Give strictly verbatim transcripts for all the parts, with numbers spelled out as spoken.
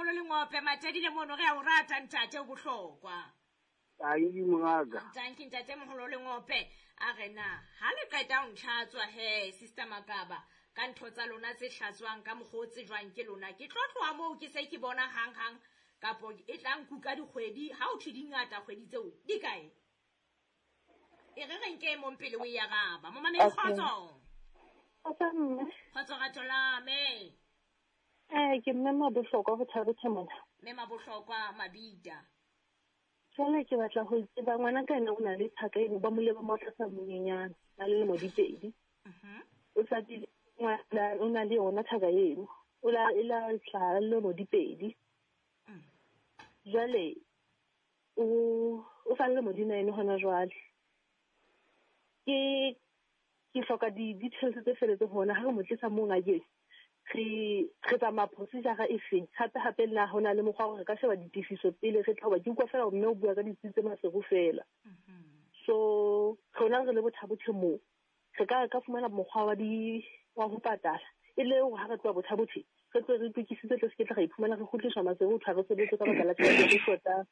moholo Lengope Matadile mono re a o rata ntate o bohlokwa. Tanki mongaka. Tanki ntate moholo Lengope a re na ha le qeta ho ntlhatswa he sister Makaba ka ntho tsa lona tse hlatswang ka mokgwa o tsejwang ke lona ke tlo tloha moo ke se ke bona hang hang kapo e tla nkuka dikgwedi ha o thwe di ngata kgwedi tseo di kae? E re re nke mong pele o e araba. Momamedi kgotso. Kgotso mme. Kgotso rato la me. Eh ke mme Mabohlokwa ho Thabothe mona. Mme Mabohlokwa Mabida. Jwale ke batla ho tseba ngwana ka ena o na le thaka eno ba mole ba mo tlasa monyenyana a le lemo di pedi. Mhm. O sa di ngwana o na le yona thaka eno. O la e la hlaha le lemo di pedi. Mm. Jwale o o sa le lemo di nine hona jwale. Ke ke hloka di details tse feletseng hona ha re mo tlisa mo ngakeng. Re re tsamaya procedure e feng hape hape nna ho na le mokgwa wa hore re ka sheba ditefiso pele re tla hoba ke utlwa fela hore mme o bua ka ditsi tse Maseru fela. So rona re le Botha-Bothe moo re ka ka fumana mokgwa wa di wa ho patala e le hore ha re tloha Botha-Bothe re tlo re itokisitse tle se ke tla ra iphumana re kgutliswa Maseru ho thwe ha re sebetse ka baka la tjhelete e shotang.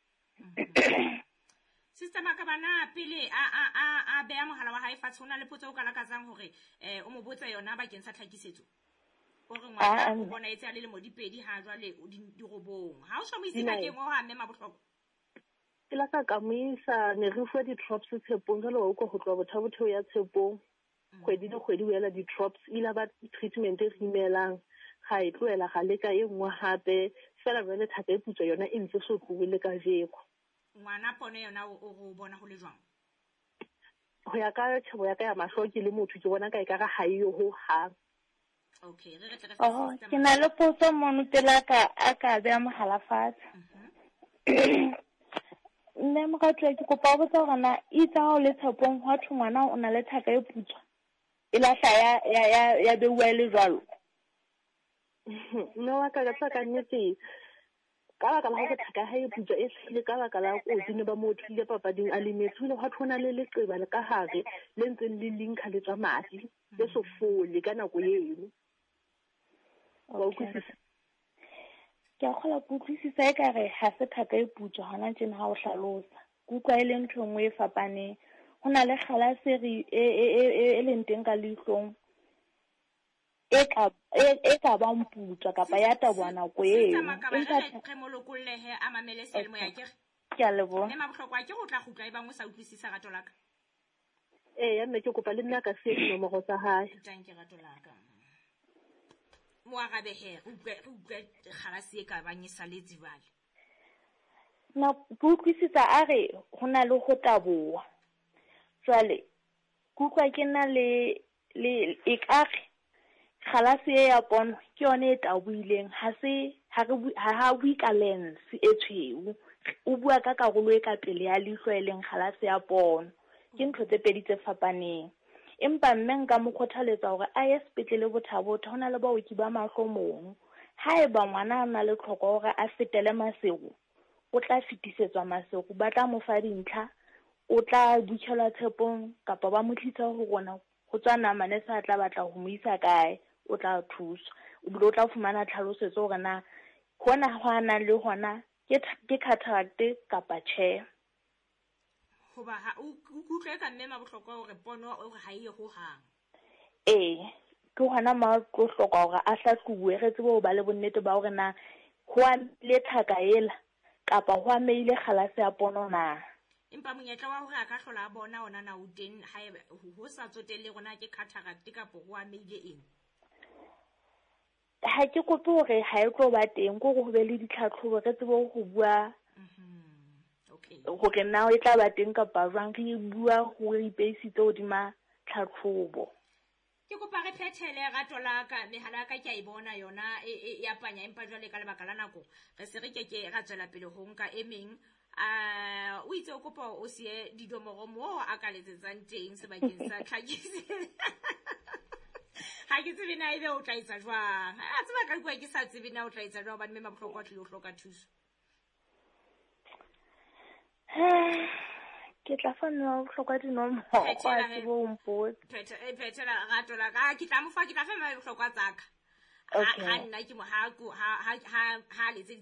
Sister Makaba na pele a a a a beha mohala wa hae fatshe ho na le potso o ka lakatsang hore eh o mo botse yona bakeng sa tlhakisetso. O re ngwana o bona etse a le lemo di pedi ha jwale o di dirobong. Ha o so mo ise ngakeng o ha mme Mabohlokwa. Ke la ka ka mo isa ne re fuwa di-drops Tshepong jwale wa utlwa ho tloha Botha-Bothe ho ya Tshepong. Kgwedi le kgwedi o ela di-drops ile ba treatment e re imelang ga e tlohela ga leka e nngwe hape fela jwale thaka e putswa yona e ntse so tlohe le kajeko. Ngwana pono yona o o bona ho le jwang? Ho ya ka tjhebo ya ka ya mahlo ke le motho ke bona ka ekare ha e yo ho hang. Okay, re re tle re Oh, ke na le potso mono pele a ka a ka beha mohala fatshe. Mme moratuwa ke kopa ho botsa hore na itse ha o le Tshepong hwa thwe ngwana o na le thaka e putswa e lahla ya ya ya ya beuwa e le jwalo. Mme wa ka ka tsa ka nnete ka baka la hore thaka ha e putswa e hlile ka baka la kotsi ne ba mo thule papading a lemetse ho ile hwa thwe ho na le leqeba le ka hare le ntseng le linkha le tswa madi le so fole ka nako eno. Wa utlwisisa? Ke a kgolwa ke utlwisisa ekare ha se thaka e putswa hona tjena ha o hlalosa. Ke utlwa e le ntho e nngwe e fapaneng. Ho na le kgalase e e e e e leng teng ka leihlong e ka e e ka bang putswa kapa ya taboha nako eo. Sister Makaba Empa re re mo lokollehe a mamele seyalemoya ke re. Ke a leboha. Mme Mabohlokwa ke ho tla kgutla e bang o sa utlwisisa rato la ka. Ee, mme ke kopa le nna ka siya dinomoro tsa hae. Tanki rato la ka. Mo arabe he, re utlwe re utlwe kgalase e ka bang e saletse jwale. Na ke utlwisisa a re ho na le ho taboha. Jwale ke utlwa ke na le le ekare kgalase e ya pono ke yone e tabohileng ha se ha re bue ha ha bue ka lens e tshweu. O bua ka karolo e ka pele ya leihlo e leng kgalase ya pono. Ke ntho tse pedi tse fapaneng. Empa mme nka mo kgothaletsa hore a ye sepetlele Botha-Bothe ho na le baoki ba mahlo mono. Haeba ngwana a na le tlhoko hore a fetele Maseru, o tla fetisetswa Maseru, ba tla mo fa dintlha, o tla butjhelwa Tshepong kapa ba mo tlisa ho rona ho tswa nama nese a tla batla ho mo isa kae, o tla thuswa. O bile o tla fumana tlhalosetso hore na hona ho a nang le hona ke ke cataract kapa tjhe. Hoba ha o utlwe ka mme Mabohlokwa hore pono o re ha e ye ho hang. Ee, ke hona mo tlo hloka hore a hlahlobuwe re tsebe ho ba le bonnete ba hore na ho amile thaka ela kapa ho ameile kgalase ya pono na. Empa monyetla wa hore a ka hlola a bona ona na o teng haeba ho sa tsotelle rona ke cataract kapa ho ameile eng. Ha ke kope hore ha e tlo ba teng, ke hore ho be le ditlhatlhobo re tsebe ho bua Okay. hore na e tla ba teng kapa jwang, re bua hore re ipeisitse hodima tlhatlhobo. Ke kopa re phethele rato la ka mehala ya ka ke a e bona yona e e ya panya empa jwale ka lebaka la nako re se re keke ra tswela pele ho nka e meng. A o itse o kopa o siye dinomoro moo a ka letsetsang teng sebakeng sa tlhakisetso. Ha ke tsebe na ebe o tla etsa jwang. A tseba ka bua ke sa tsebe na o tla etsa jwang hobane mme Mabohlokwa o tlile ho hloka thuso. Ke tla fa mme Mabohlokwa dinomoro, a tsebe ho mpotsa. Phethela rato la ka. Ke tla mo fa ke tla fa mme Mabohlokwa tsa ka. Ha Okay. ha nna ke mo ha ha ha ha ha letseditse